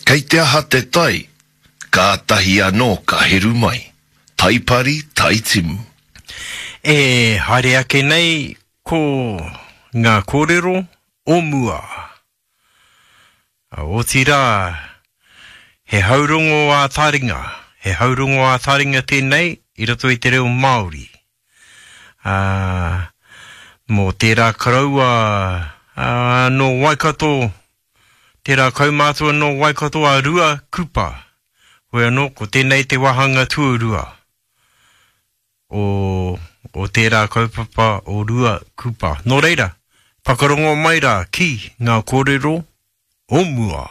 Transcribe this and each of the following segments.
Kei te aha te tai, kātahi anō ka heru mai. Tai pari, tai timu. E haere ake nei ko ngā kōrero o mua. Otirā, he haurongo ā-taringa, he haurongo ā-taringa tēnei i roto i te reo Māori. Ā, mō tērā koroua, ā, nō Waikato, tērā kaumātua nō Waikato a Rua Kupa. Hoi anō, ko tēnei te wāhanga tuarua o, o tērā kaupapa o Rua Kupa. Nō reira, whakarongo mai rā ki ngā kōrero o mua.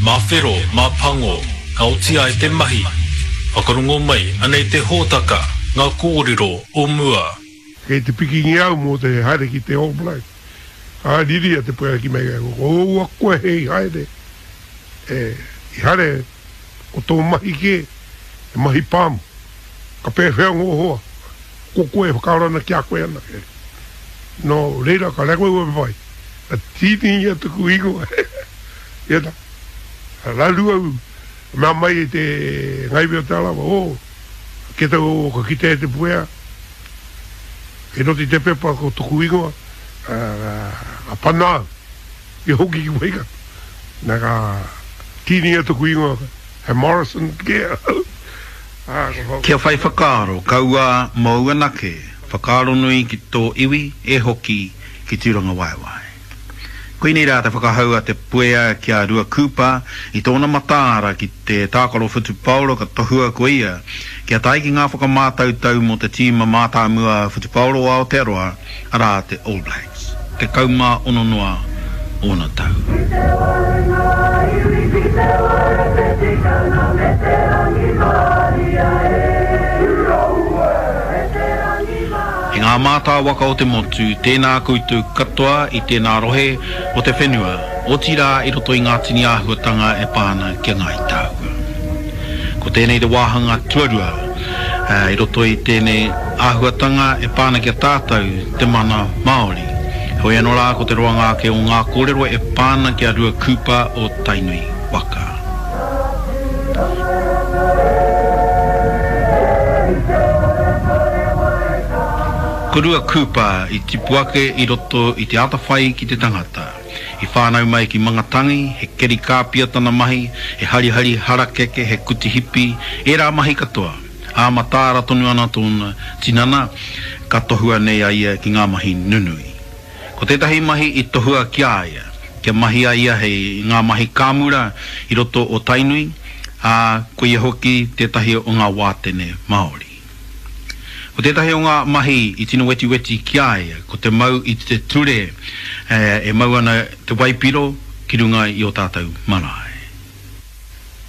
Mā whero, mā pango, ka oti ai te mahi. Whakarongo mai, anei te hōtaka, ngā kōrero o mua. Kei te pikingia au mō te haere ki te All Blacks. Ka riri a Te Puea ki mei, ko oua koe hei haere, e, i haere ko tō mahi kē, he mahi pāmu. Ka pēwhea ngō hoa, ko koe e whakaaro ana ki a koe anake. Nō reira ka reka au e whai. Ka tīningia taku ingoa. Ia na, raru au, mea mai e te ngaiwi o Te Arawa, oh, ke tau ka kitea e Te Puea, kei roto i te pepa ko toku ingoa, ka pana au, i hoki ki Waikato. Na ka tīningia taku ingoa, he Morrison kē ahau. Kia whai whakaaro, kaua mōu anake, whakaaro nui ki tō iwi e hoki ki Tūrangawaewae. Koinei rā te whakahau a Te Puea ki a Rua Cooper i tōna mataara ki te tākaro whutupaoro ka tohua ko ia kia tae ki ngā whakamātautau mō te tīma mātāmua whutupaoro o Aotearoa, arā te All Blacks. 16 noa ōna tau. Ki te wai ngā iwi, ki te wai te tikanga me te rangimārie e. Me te rangimārie. E ngā mātāwaka o te motu, tēnā koutou katoa i tēnā rohe o te whenua, otirā i roto i ngā tini āhuatanga e pā ana ki a Ngāi Tāua. Ko tēnei te wāhanga tuarua i roto i tēnei āhuatanga e pā ana ki a tātou te mana Māori. Heoi anō rā ko te roanga ake o ngā kōrero e pā ana ki a Rua Cooper o Tainui waka. Ko Rua Cooper i tipu ake i roto i te atawhai ki te tangata. I whānau mai ki Mangatangi, he keri kāpia tana mahi, he harihari harakeke, he kuti hipi, ērā mahi katoa. Ā, mataara tonu ana tōna tinana, ka tohua nei a ia ki ngā mahi nunui. Ko tētahi mahi i tohua ki a ia, kia mahi a ia hei ngā mahi kāmura i roto o Tainui, ā, ko ia hoki tētahi o ngā wātene Māori. Ko tētahi o ngā mahi i tino wetiweti ki a ia, ko te mau i te ture e mau ana te waipiro ki runga i ō tātou marae.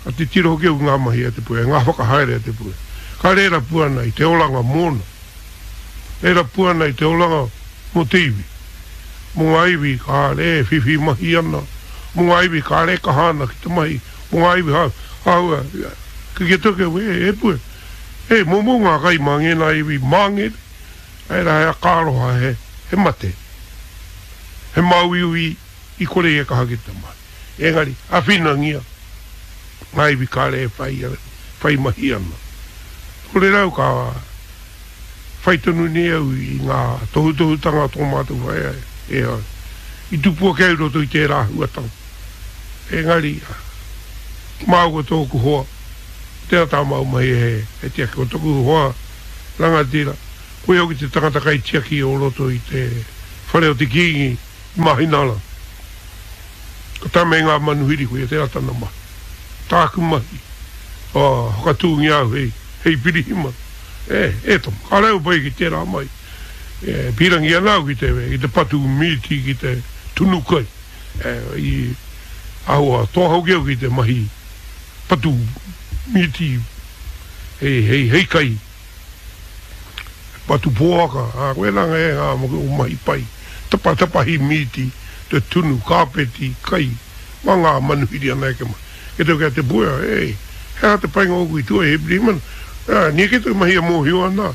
Ka titiro hoki au ki ngā mahi a Te Puea, ngā whakahaere a Te Puea. Ka rera pū ana i te oranga mōna. Rera pū ana i te oranga mō te iwi. Mō ngā iwi kāre e whiwhi mahi ana, mō ngā iwi kāre e kaha ana ki te mahi, mō ngā iwi ha, hāua, ki ki atu au, e, e Puea, e, momo ngā kai mā ngēnā iwi māngere, ērā he akaaroha, he, he mate, he māuiui i kore i e kaha ki te mahi. Engari, awhinangia ngā iwi kāre e whai, whai mahi ana. Nō reira au ka whai tonu nei au i ngā tohutohutanga a tō mātou whaea e au. I tupu ake au i roto i tērā āhuatanga. Engari, māua tōku hoa, tērā tā māua mahi he, he tiaki. Ko toku hoa rangatira, koia hoki te tangata kaitiaki o roto i te whare o te Kīngi i Māhinārangi. Ka tae mai ngā manuhiri koia tērā tana mahi. Tāku mahi, ā, whakatūngia au hei, hei pirihimana. E, e tama, kāre au pai ki tērā mahi. E, pīrangi ana au ki te, ki te patu mīti, ki te tunu kai. E, i āhua toa hoki au ki te mahi patu mīti hei, hei, hei kai. Patu poaka, ā, koirā ngā o mahi pai, tapatapahi mīti, te tunu, kāpeti, kai, mā ngā manuhiri ana eke mai. Ke tau ki a Te Puea, e, he aha te painga ōku i tua i he pirihimana? Ā, nia kē taku mahi e mōhio ana,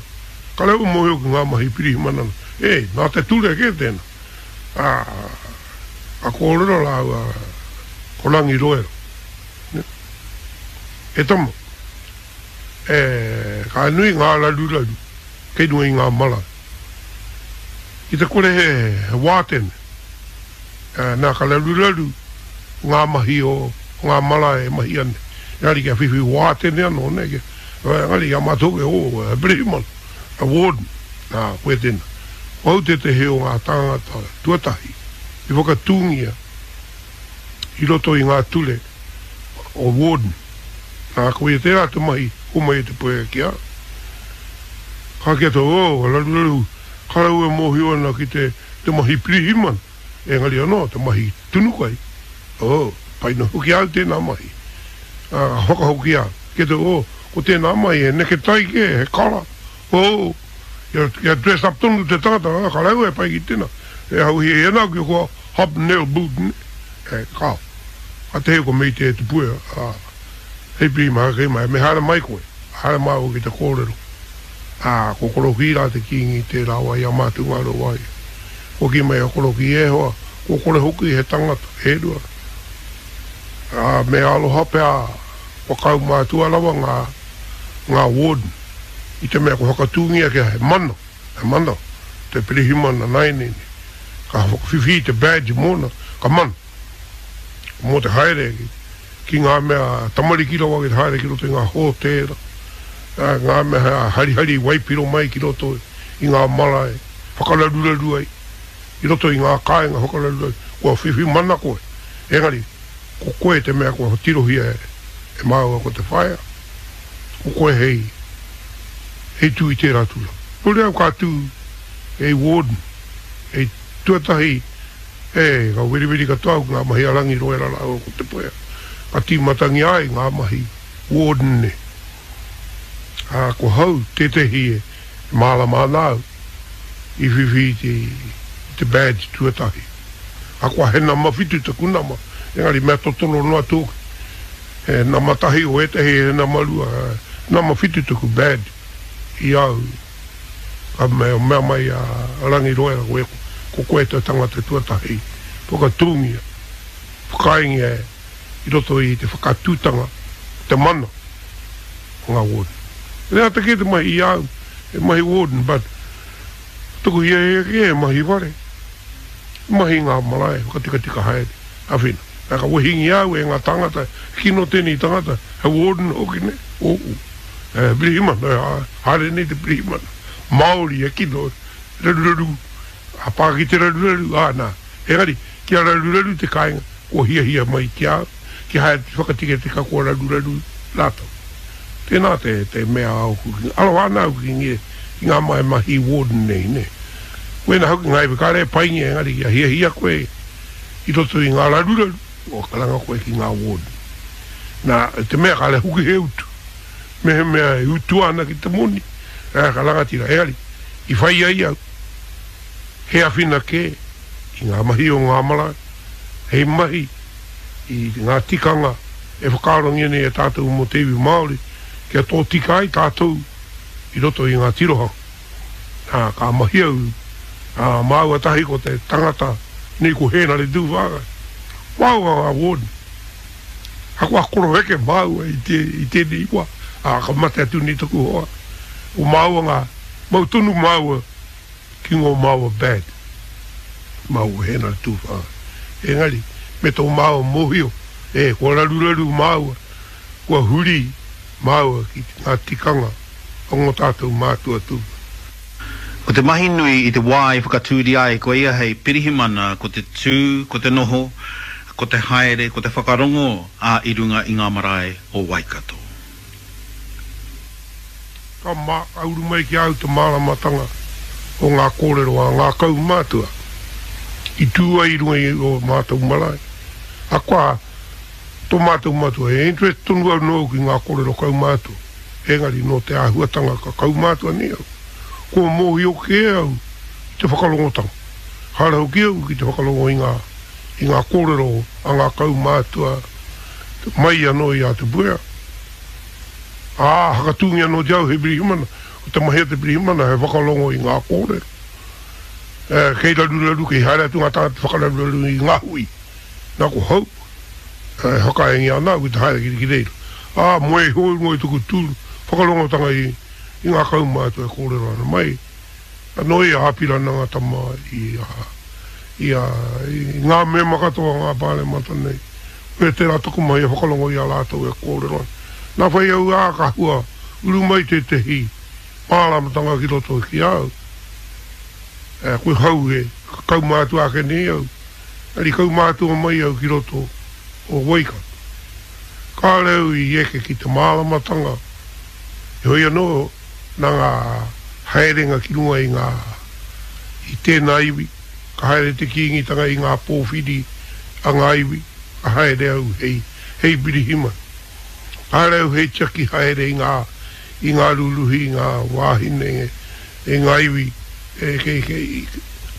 ka rau mōhio ki ngā mahi pirihimana ana. E, nā te ture kē tēnā. Ā, ka kōrero rāua ko Rangi Roera. E tama, e, ka nui ngā raruraru kei runga i ngā marae. Ki te kore he wātene, nā ka raruraru ngā mahi o ngā marae e mahia nei. Engari kia whiwhi wātene anō, nē, kia, engari i a mātou hoki, oh, he pirihimana, he warden, nā, koe tēnā. Ko au tētehi o ngā tāngata tuatahi i whakatūngia i roto i ngā ture o warden. Nā, koia tērā te mahi homai e te puea ki a. Ka kī atu, oh, raruraru, ka rau e mōhio ana ki te, te mahi pirihimana, engari anō te mahi tunu kai, oh, pai noa hoki au tēnā mahi. Ā, ka whakahoki au, kī atu, oh, ko tēnā mahi he neketai kē, he kara, oh, kia, kia dress up tonu te tangata, ā, ka rau e pai ki tēnā. E hau hiahia ana au ki kua hobnail boot, nē, e, kāo. Ka tehe ko Mei te Puea, ā, hei pirihimana, kei mai, me haere mai koe, haere māua ki te kōrero. Ā, ko Korokī rā te kīngi tērā wā i a mātou Ngāruawāhia. Kua kī mai a Korokī, E hoa, kua kore hoki he tangata, e rua. Ā, me aroha pea kua kaumātua rawa ngā, ngā warden, i te mea kua whakatūngia kia he mana, he mana te pirihimana nāianei nei. Ka whakawhiwhi i te badge mōna, ka mana. Mō te haere ki ngā mea tamariki rawa ki te haere ki roto i ngā hōtēra, ngā mea harihari waipiro mai ki roto i ngā marae whakararuraru ai, i roto i ngā kāinga whakararuraru, kua whiwhi mana koe, engari ko koe te mea kua tirohia e māua ko te whaea, ko koe hei hei tū i tērā tūranga. Nō reira ka tū hei warden, hei tuatahi E, ka weriweri katoa au ki ngā mahi a Rangi Roera rāua ko Te Puea. Ka tīmatangia ai ngā mahi warden nei. Ā, ko hau tētehi e mārama ana au i whiwhi i te, i te badge tuatahi. Ahakoa he nama whitu taku nama, engari mea totoro noa tōku. He nama tahi o ētehi, he nama rua, he nama whitu taku badge i a au. Ka mea mai a Rangi Roera, ko, ko koe te tangata tuatahi whakatūngia, whakaaengia i roto i te whakatūtanga o te mana o ngā warden. He ata kē te mahi i a au, he mahi warden, but taku hiahia kē he mahi whare, mahi ngā marae, whakatikatika haere, āwhina. Nā, ka wehingia au e ngā tāngata, kino tēnei tangata, he warden hoki nei, ō. He pirihimana, haere nei te pirihimana Māori e kino, raruraru, a pā ki te raruraru, ā nā. Engari, kia raruraru te kāinga, kua hiahia mai ki a au, kia haere te whakatikatika kua raruraru rātou. Tēnā te, te mea ōku, aroha ana au ki ngē, ki ngā mahi mahi warden nei, nē. Wēnā hoki ngā iwi kāre e paingia, engari kia hiahia koe i roto i ngā raruraru, kua karanga koe ki ngā warden. Nā, te mea kāre hoki he utu. Mehemea e utua ana ki te moni, ā, ka rangatira. Engari, i whai ai au, he awhina kē i ngā mahi o ngā marae, hei mahi i ngā tikanga e whakaarongia nei e tātou mō te iwi Māori, kia tōtika ai tātou i roto i ngā tirohanga. Nā, ka mahi au, ā, māua tahi ko te tangata nei ko Hēnare Tūwhāngai, māua ngā warden. Ahakoa koroheke māua i te, i tēnei wā, ā, ka mate atu nei taku hoa, ko māua ngā, mau tonu māua ki ngō māua bad, māua Hēnare Tūwhāngai. Engari, me tō māua mōhio, e, kua raruraru māua, kua huri māua ki ngā tikanga o ngō tātou mātua tūpuna. Ko te mahi nui i te wā i whakatūria ai ko ia hei pirihimana ko te tū, ko te noho, ko te haere, ko te whakarongo ā i runga i ngā marae o Waikato. Ka ka uru mai ki a au te māramatanga o ngā kōrero a ngā kaumātua i tū ai i runga i ō mātou marae. Ahakoa tō mātou matua, he interest tonu au nōu ki ngā kōrero kaumātua. Engari nō te āhuatanga ka kaumātua nei au, kua mōhio kē au i te whakarongotanga. Haere hoki au ki te whakarongo i ngā, i ngā kōrero a ngā kaumātua mai anō i a Te Puea. Ā, hakatūngia anō te au hei pirihimana, ko te mahi a te pirihimana he whakarongo i ngā kōrero. Ē, kei raruraru, kei haere atu ngā tāngata whakararuraru i ngā hui. Nā ko hau, e whakaaengia ana au ki te haere ki reira. Ā, moe iho i runga i taku tū whakarongotanga i i ngā kaumātua e kōrero ana mai anō i a Apirana Ngata mā, i a, i a, i ngā mema katoa o ngā Pāremata nei. Koia tērā taku mahi e whakarongo i a rātou e kōrero ana. Nā whai au, ā, ka hua uru mai tētehi māramatanga ki roto ki a au. E, koe hau e, ka kaumātua ake nei au, engari kaumātua mai au ki roto o Waikato. Kāore au i eke ki te māramatanga, heoi anō, nā ngā haerenga ki runga i ngā, i tēnā iwi, ka haere te Kīngitanga i ngā pōwhiri a ngā iwi, ka haere au hei, hei pirihimana. Ka haere au hei tiaki haere i ngā, i ngā rūruhi, i ngā wāhine, i ngā iwi, e, kei, kei,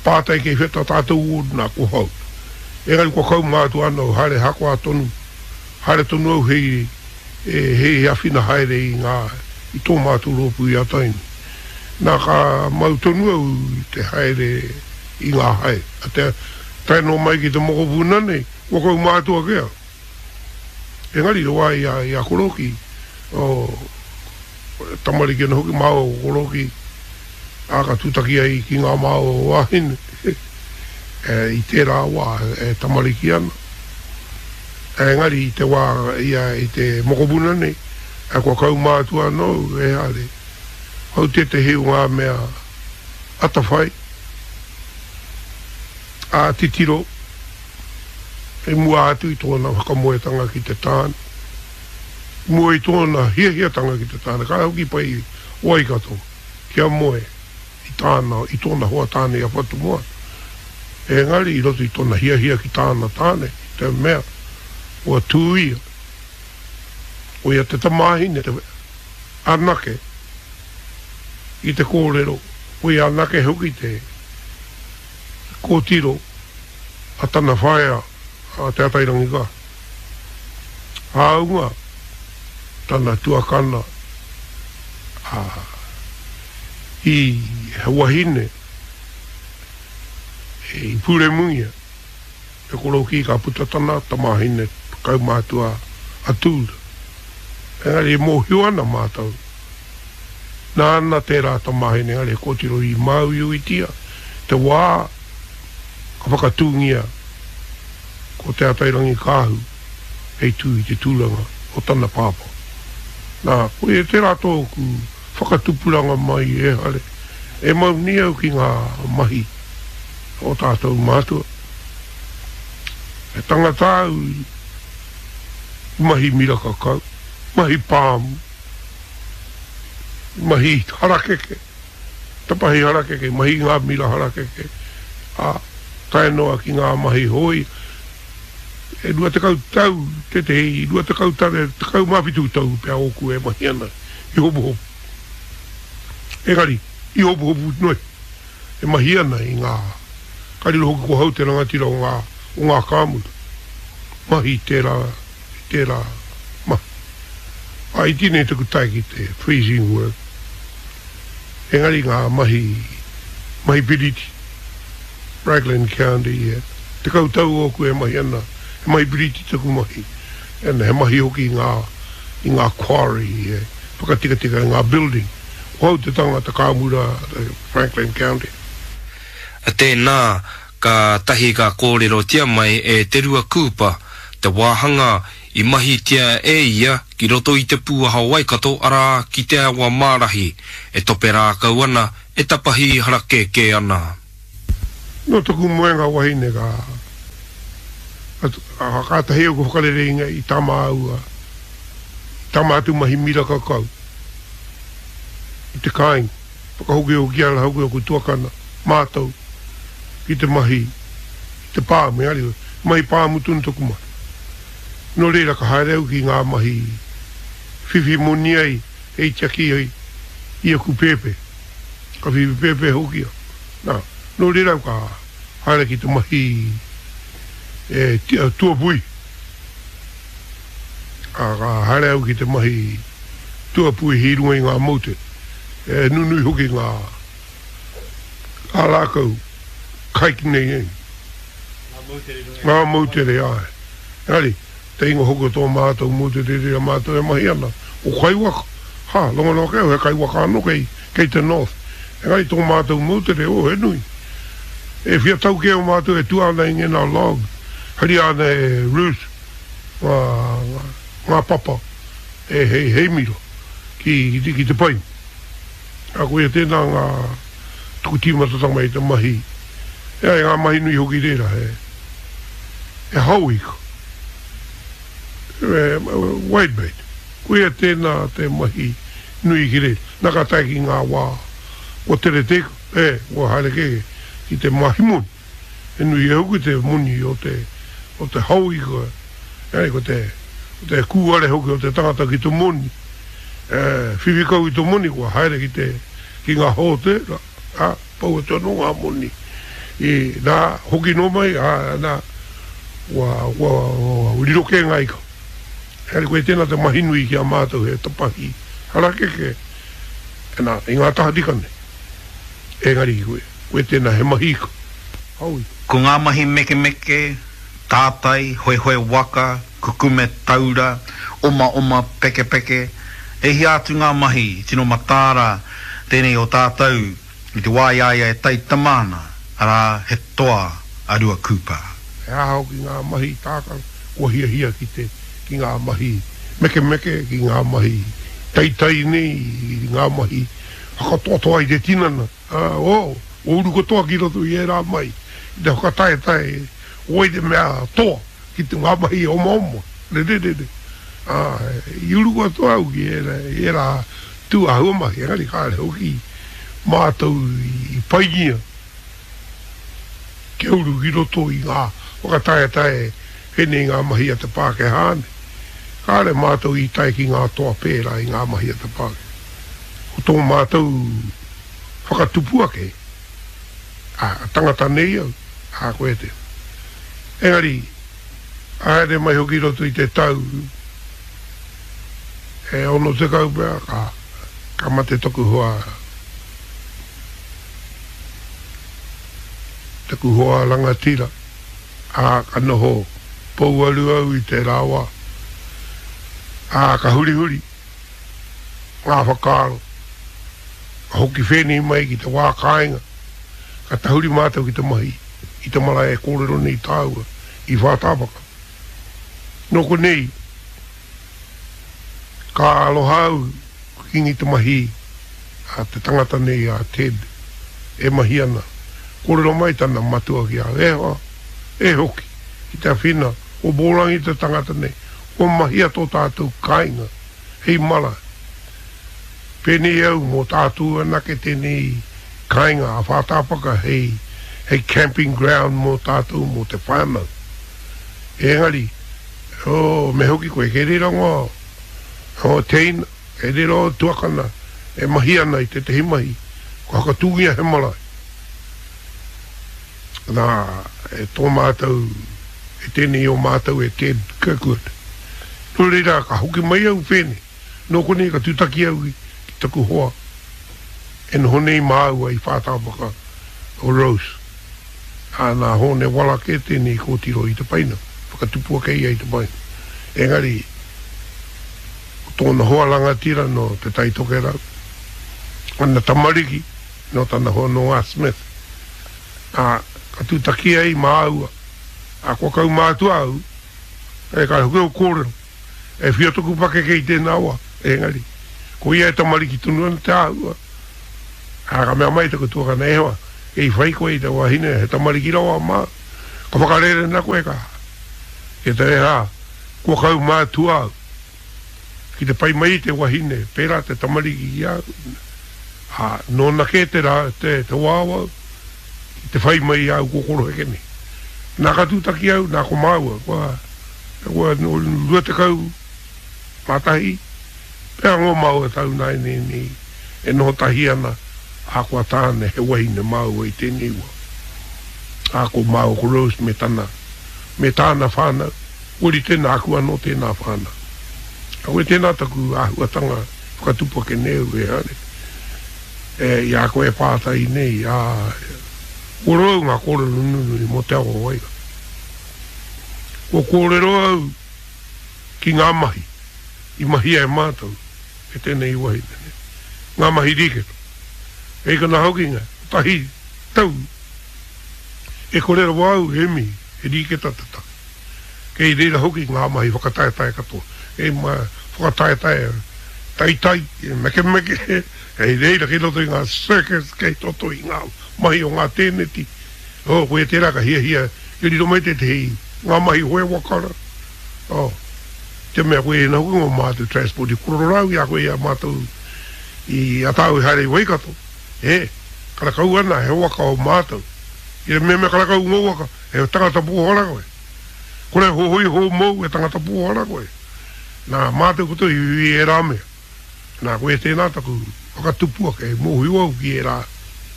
pātai kei whea tā tātou ward nā, ko hau. Engari kua kaumātua ana au, haere hakoa tonu, haere tonu au hei, e, hei awhina haere i ngā, i tō mātou rōpū i a Tainui. Nā, ka mau tonu au i te haere i ngā hae. A te, tae noa mai ki te mokopuna nei, kua kaumātua kē au. Engari, te wā i a, i a Koroki, oh, tamariki ana hoki māua ko Koroki, ā, ka tūtaki ai ki ngā māua wāhine i tērā wā e tamariki ana. Engari i te wā ia i te mokopuna nei, kua kaumātua anō au, e haere, hou tētehi o ngā mea atawhai, ā, titiro i mua atu i tōna whakamoetanga ki te tāne. I mua i tōna hiahiatanga ki te tāne, ka hoki pai i Waikato kia moe i tāna, i tōna hoa tāne i a Whatumoana. Engari i roto i tōna hiahia ki tāna tāne, i te mea kua tū ia, ko ia te tamāhine anake i te kōrero, ko ia anake hoki te kōtiro a tana whaea a Te Atairangikaahu. Hāunga tana tuakana a i he wahine i puremungia e Korokī ka puta tana tamāhine kaumātua a Tūra. Engari e mōhio ana mātou nāna tērā tamāhine engari he kōtiro i māuiuitia te wā ka whakatūngia ko Te Atairangikaahu hei tū i te tūranga o tana pāpā. Nā, koia tērā tōku whakatupuranga mai e Hare, e mau nei au ki ngā mahi o tātou mātua. He tangata au i mahi miraka kau, mahi pāmu, i mahi harakeke. Tapahi harakeke, mahi i ngā mira harakeke, ā, tae noa ki ngā mahi hōia. E 20 tau tētehi, 20 tau, 17 tau pea ōku e mahi ana i Hopuhopu. Engari, i Hopuhopu noa iho e mahi ana i ngā, ka riro hoki ko hau te rangatira o ngā, o ngā kāmura. Mahi tērā, tērā mahi. Ā, iti nei taku tae ki te freezing work. Engari ngā mahi, mahi piriti, Raglan County, he 10 tau ōku e mahi ana, he mahi piriti taku mahi, and he mahi hoki i ngā, i ngā quarry, he whakatikatika i ngā building. Ko au te tangata kāmura Franklin County. Tēnā, kātahi ka kōrerotia mai e Te Rua Kūpa te wāhanga I mahitia e ia ki roto i te pūaha o Waikato, arā, ki te awa mārahi, e tope rākau ana, e tapahi harakēkē ana. Nō taku moenga wahine ka, ka, kātahi au ka whakarere i, i tā māua, i tā mātou mahi miraka kau i te kāinga. Whakahokihoki ana hoki aku tuakana, mātou, ki te mahi i te pāmu, engari, mahi pāmu tonu taku mahi. Nō reira ka haere au ki ngā mahi whiwhi moni ai hei tiaki ai i aku pēpē. Ka whiwhi pēpē hoki au. Nā, nō reira au ka haere ki te mahi e tuapui. Ā, ka haere au ki te mahi tuapuihi i runga i ngā moutere. E nunui hoki ngā, ngā rākau kai ki nei nei. Ngā moutere, āe. Engari, Te ingoa hoki o tō mātou moutere i reira mātou e mahi ana, ko Kaiwaka. Ha, rongo noa kē au he kaiwaka anō kei, kei te north. Engari tō mātou moutere, oh, he nui. E whia tau kē o mātou e tua ana i ngēnā log, haria ana e Ruth ngā, ngā, ngā papa e hei, hei miro ki, ki, ki te paina. Ā, koia tēnā ngā tuku tīmatatanga mai i te mahi, e ai ngā mahi nui hoki reira, he, he hao ika, he whitebait. Koia tēnā te mahi nui ki reira. Nā ka tae ki ngā wā kua tere te ika, e, kua haere kē ki te mahi moni. He nui e hoki te moni o te, o te hao ika, engari ko te, ko te kūare hoki o te tangata ki te moni, e, whiwhi kau i te moni kua haere ki te, ki ngā hōtēra, ā, pau atu anō ngā moni. I, nā, hoki noa mai, ā, nā, kua, kua, kua riro kē ngā ika. Engari koia tēnā te mahi nui ki a mātou he tapahi harakeke, nā, i ngā tahatika nei. Engari koe tēnā he mahi ika. Hao ika. Ko ngā mahi mekemeke, tātai, hoehoe waka, kukume taura, omaoma, pekepeke, e hia atu ngā mahi tino mataara tēnei o tātou i te wā i a ia e taitama ana, arā, he toa a Rua Cooper. He aha hoki ngā mahi tākaro kua hiahia ki te, ki ngā mahi mekemeke, ki ngā mahi teitei nei, ki ngā mahi whakatoatoa i te tinana, ā, oh, kua uru katoa ki roto i ērā mahi, ki te whakataetae, ko wai te mea toa ki te ngā mahi omaoma, rererere, ā, i uru katoa au ki ērā, i ērā tū āhua mahi, engari kāre hoki mātou i paingia kia uru ki roto i ngā whakataetae pēnei i ngā mahi a te Pākehā nei. Kāre mātou i tae ki ngā toa pērā i ngā mahi a te Pākehā. Ko tō mātou whakatupu ake, ā, tangata nei au, ā, koe te. Engari, haere mai hoki i roto i te tau e 60 pea, ka, ka mate taku hoa, taku hoa rangatira, ā, ka noho pouaru au i tērā wā, ā, ka hurihuri. ngā whakaaro. Ka hoki whēnei mai ki te wā kāinga, ka tahuri mātou ki te mahi i te marae e kōrero nei tāua i Whātāpaka. Nō konei, ka aroha au ki te mahi a te tangata nei a Ted e mahi ana. Kōrero mai tana matua ki a au, e hoa, e hoki ki te awhina o Bōrangi te tangata nei, kua mahia tō tātou kāinga hei marae. Pēnei au mō tātou anake tēnei kāinga a Whātāpaka hei, hei camping ground mō tātou, mō te whānau. Engari, oh, me hoki koe, kei reira ngā, ngā teina, kei reira ō tuakana e mahi ana i tētehi mahi, kua whakatūngia he marae. Nā, e tō mātou, e tēnei o mātou e Ted Kirkwood. Nō reira, ka hoki mai au whēnei. Nō konei ka tūtaki au ki taku hoa e noho nei māua i Whātāpaka o Rose. Ā, nā Hōne Wala kē tēnei kōtiro i te paina, whakatupu ake ia i te paina. Engari, ko tōna hoa rangatira nō Te Tai Tokerau, ana tamariki nō tana hoa nō A. Smith. Ā, ka tūtaki ai māua, ā, kua kaumātua au, e ka hoki au kōrero, e whia toku pakeke i tēnā wā, engari, ko ia e tamariki tonu ana te āhua, ā, ka mea mai taku tuakana, e hoa, kei whai koe i te wahine, he tamariki rawa māu, ka whakarērena koe ka, e te rā, kua kaumātua au. Ki te pai mai te wahine, pērā te tamariki ki a au, ā, nōna kē te rā, te, te wāwau, ki te whai mai i a au kua koroheke nei. Nā ka tūtaki au, nā ko māua, kua, kua 21 pea ngō māua tau nāianei nei e noho tahi ana, ā, ko a tāne he wahine māua i tēnei wā. Ā, ko māua ko Rose me tana, me tāna whānau. Kua rite nāku anō tēnā whānau. Aue tēnā taku āhuatanga whakatupu ake nei au e haere e i a koe e pātai nei, ā, kua roa au ngā kōrero nunui mō te awa o Waikato. Kua kōrero au. ki ngā mahi i mahia e mātou e tēnei wahine nei, ngā mahi rīketa. Kei konā hoki ngā kotahi tau e kore rawa au e mihi, he rīketa te take. Kei reira hoki ngā mahi whakataetae katoa, kei whakataetae taitai, mekemeke, kei reira kei roto i ngā circus, kei roto i ngā mahi o ngā tēneti. Oh, koia tērā ka hiahia kia riro mai tētehi ngā mahi hoe waka rā. Oh, te mea koia ina hoki ngō mātou transport i kororo rā au i a koe i a mātou i a tāu i haere i Waikato. E, karakau ana he waka o mātou. I te mea karakau ngō waka, he tangata pōhara koe. Kore hohoi hō mōu, he tangata pōhara koe. Nā, mātou koutou i whiwhi i ērā mea. Nā, koia tēnā taku whakatupu ake, e mōhio au ki ērā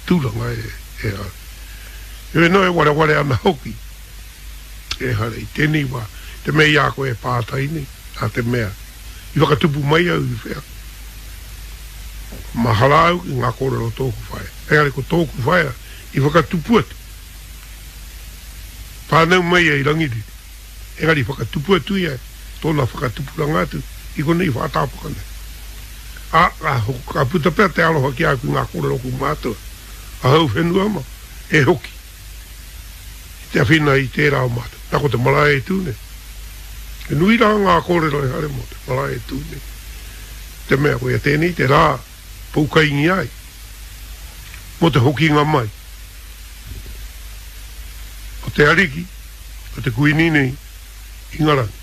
tūranga e, e au. Heoi anō, e wareware ana hoki, ehara i tēnei wā, te mea i a koe e pātai nei, nā te mea, i whakatupu mai au i whea. Mahara au ki ngā kōrero o tōku whaea, engari ko tōku whaea i whakatupu atu. Whānau mai ia i Rangiriri. Engari whakatupu atu ia tōna whakatupuranga atu i konei whātāpaka nei. Ā, ka puta pea te aroha ki a au ki ngā kōrero o ōku mātua, ahau whenua ma, e hoki ki te awhina i tērā o mātou. Nā ko te marae e tū nei. He nui rā ngā kōrero e haere mō te marae e tū nei. Te mea koia tēnei te rā poukaingia ai mō te hokinga mai o te Ariki, o te Kuini nei, Ingarangi.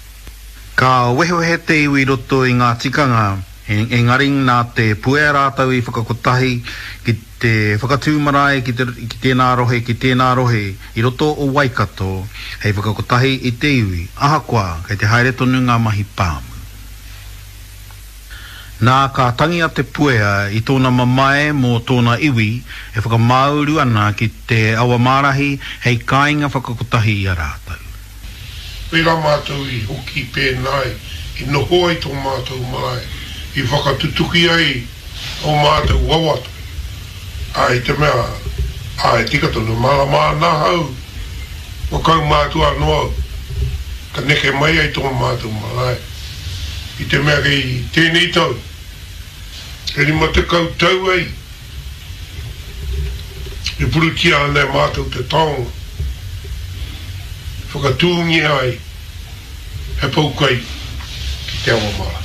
Ka wehewehe te iwi i roto i ngā tikanga, engari nā Te Puea rātou i whakakotahi ki te whakatū marae ki tēnā rohe, ki tēnā rohe i roto o Waikato hei whakakotahi i te iwi, ahakoa kei te haere tonu ngā mahi pāmu. Nā, ka tangi a Te Puea i tōna mamae mō tōna iwi e whakamāuru ana ki te Awamārahi hei kāinga whakakotahi i a rātou. Pērā mātou i hoki pēnā ai, i noho ai tō mātou marae, i whakatutuki ai ō mātou wawata, ā, i te mea, ā, e tika tonu, mārama ana ahau, kua kaumātua anō au, ka neke mai ai tō mātou marae. I te mea kei tēnei tau, e 50 tau ai e purutia ana e mātou te taonga i whakatūngia ai he poukai ki Te Awamara.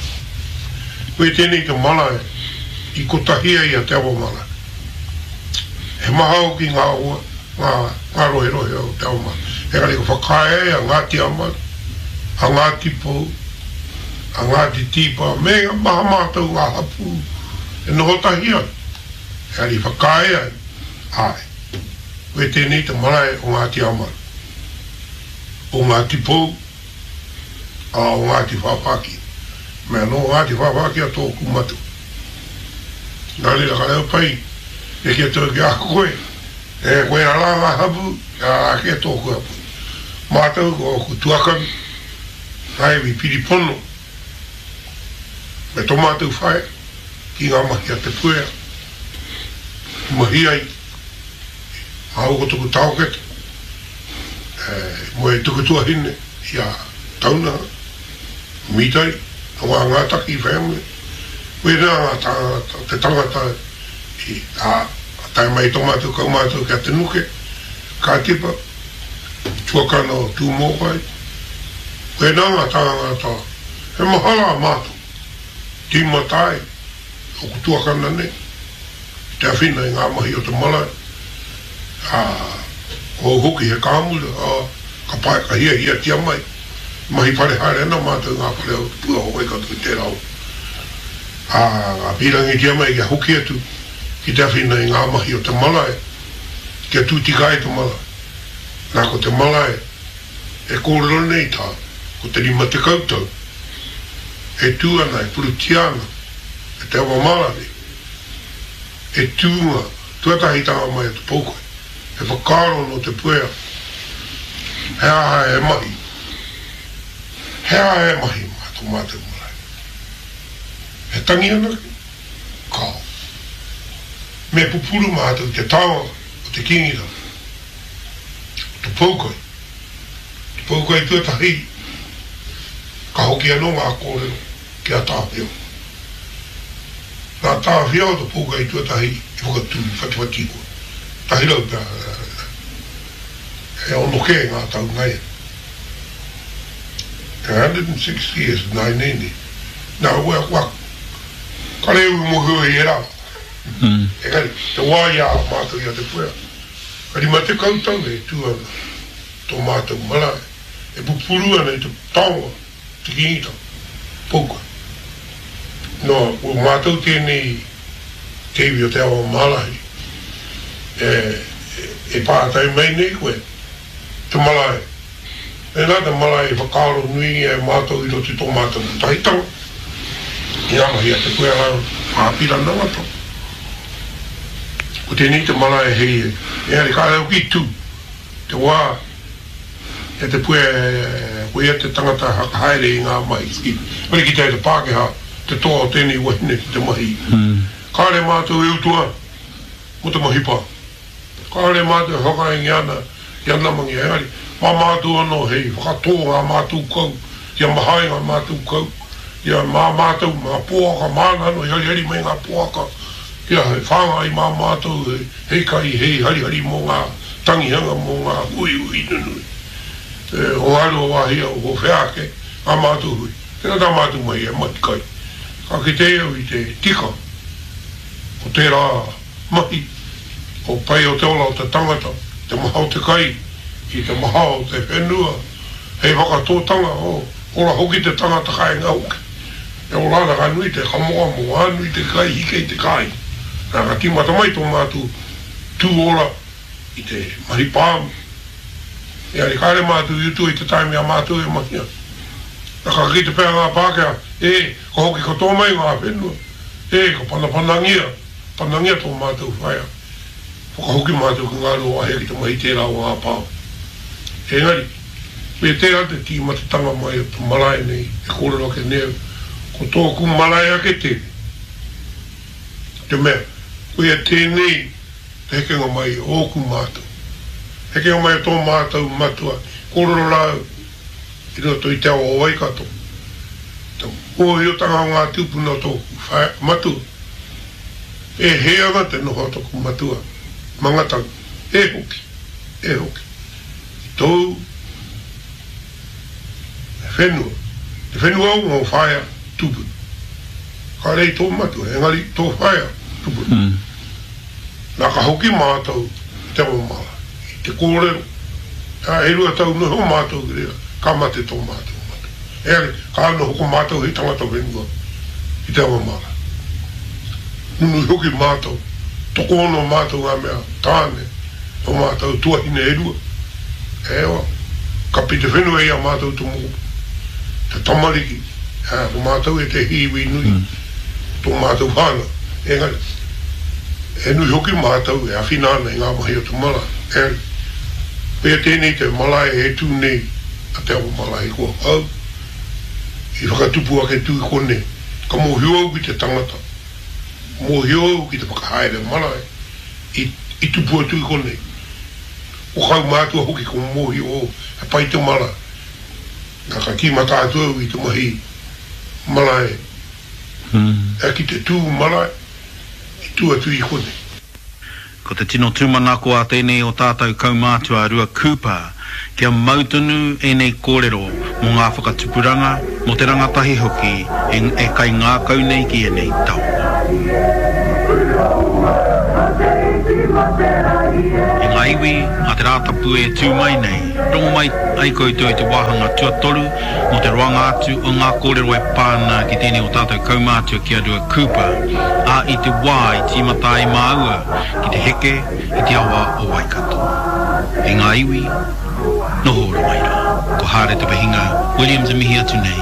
Koia tēnei te marae i kotahi ai a Te Awamara. He maha hoki ngā ngā, ngā roherohe o Te Awamara. Engari ka whakaae ai a Ngāti Amaru, a Ngāti Pou, a Ngāti Tīpā me maha mātou ngā hapū e noho tahi ana. Engari i whakaae ai, āe, koe tēnei te marae o Ngāti Amaru, o Ngāti Pou, ā, o Ngāti Whāwhāki. Mea nō Ngāti Whāwhāki a tōku matua. Nā reira ka reo pai e kī atu au ki a koe, E koe rā ngā hapū, kia rā kē tōku hapū. Mātou ko ōku tuakana, ngā iwi piri pono, me tō mātou whaea ki ngā mahi a Te Puea i mahi ai, māua ko taku taokete, e moe ai taku tuahine i a Taunaha, Mitai, nō ngā Ngātaki family, koinā ngā tāngata, te tangata i, ā, ka tae mai tō mātou kaumātua ki a Te Nuke, Kātipa, tuakana o Tūmōkai. Koinā ngā tāngata, he maha rā mātou, tīmata ai ōku tuakana nei ki te awhina i ngā mahi o te marae, ā, ko au hoki he kāmura, ā, ka pae, ka hiahiatia mai, mahi whare haere ana mātou i ngā whare o Te Pua o Waikato i tērā wā. Ā, ka pīrangitia mai kia hoki atu ki te awhina i ngā mahi o te marae, kia tū tika ai te marae. Nā, ko te marae e kōrero nei tā, ko te 50 tau e tū ana, e purutia ana e te awa marae, he tūnga tuatahitanga mai o te poukai, he whakaaro nō Te Puea, he aha he mahi, he aha he mahi mā tō mātou marae. He tangi anake? Kāo. Me pupuru mātou i te taonga o te Kīngitanga, o te poukai. Te poukai tuatahi. Ka hoki anō ngā kōrero ki a Tāwhiao. Nā Tāwhiao te pōkai tuatahi i whakatū i Whatiwhatihoa. 100 pea, e ono kē ngā tau nāianei. 160 years nāianei nei. Nā, kua, kare au i mōhio i ērā. Engari, te wā i a mātou i a Te Puea, ka 50 tau e tū ana tō mātou marae, e pupuru ana i te taonga, te Kīngitanga, Poukai. Nō, ko mātou tēnei te iwi o Te Awa Mārahi, e, e pātai mai nei koe, te marae, Mēnā te marae i whakaaro nuingia e mātou i roto i tō mātou kotahitanga, i ngā mahi a Te Puea rāua ko Āpirana Ngata. Ko tēnei te marae hei, engari kāre hoki i tū te wā i a Te Puea ko ia te tangata whakahaere i ngā mahi ki, kore kitea e te Pākehā te toa o tēnei wahine ki te mahi. Kāre mātou e utua mō te mahi pā. Kāore mātou e whakaenge ana i a Namangi, engari, mā mātou anō hei whakatō ngā mātou kau, kia maha ai ngā mātou kau, kia mā mātou ngā poaka, māna anō i harihari mai ngā poaka, kia hei whāngai mā mātou hei kai, hei harihari mō ngā tangihanga, mō ngā huihui nunui o Ngāruawāhia, o whea ake ngā mātou hui. Tēnā tā mātou mahi he mahi kai. Ka kite au i te tika o tērā. Mahi, ko pai o te ora o te tangata, te maha o te kai, i te maha o te whenua, hei whakatōtanga, o, ora hoki te tangata kāinga hoki. E ora ana ka nui te kamokamo, ka nui te kai hike i te kāinga. Nā, ka tīmata mai tō mātou tū ora i te mahi pāmu. Engari kāre mātou i utua i te taimi a mātou e mahi ana. Nā, ka kite pea ngā Pākehā, e, ka hoki katoa mai ngā whenua, e, ka panapanangia. Panangia tō mātou whaea, whakahoki mātou ki Ngāruawāhia ki te mahi tērā o ngā pā. Engari, me tērā te tīmatatanga mai o te marae nei e kōrero ake nei au, ko tōku marae ake tēnei. Te mea, koia tēnei te hekenga mai o ōku mātou. Hekenga mai o tō mātou matua, kōrero rā au i roto i te awa o Waikato, te mōhiotanga o ngā tūpuna o tōku whaea, matua. E hē ana te noho a toku matua, Mangatangi, e hoki, e hoki, ki tōu whenua, te whenua o ngō whaea tupuna. Kāre i tō matua, engari tō whaea tupuna. Nā ka hoki mātou i te Awamara, i te kōrero, ā, e 2 tau noho mātou ki reira, ka mate tō mātou matua. Engari, ka noho ko mātou hei tangata whenua ki te Awamara. Nunui hoki mātou, tokoono mātou ngā mea tāne, o mātou tuahine e rua. Ewa, kapi te whenua i a mātou te mokopuna, te tamariki, ā, ko mātou ētehi iwi nui, tō mātou whānau. Engari, he nui hoki mātou e awhina ana i ngā mahi o te marae. Engari, koia tēnei te marae e tū nei a Te Awa Marae ko au i whakatupu ake tu i konei. Ka mōhio au ki te tangata, mōhio au ki te whakahaere marae i i tupu atu i konei. Ko kaumātua hoki ko mōhio au he pai te marae. Na ka tīmata atu au i te mahi marae, ki te tū marae i tū atu i konei. Ko te tino tūmanako a tēnei o tātou kaumātua a Rua Cooper, kia mau tonu ēnei kōrero mō ngā whakatupuranga, mō te rangatahi hoki e e kaingākau nei ki ēnei taonga. E ngā iwi, a te Rātapu e tū mai nei, rongo mai ai koutou i te wāhanga tuatoru mō te roanga atu o ngā kōrero e pā ana ki tēnei o tātou kaumātua ki a Rua Cooper, ā, i te wā i tīmata ai māua ki te heke i te awa o Waikato. E ngā iwi, noho ora mai rā. Ko Hāre Te Wehinga Williams e mihi atu nei.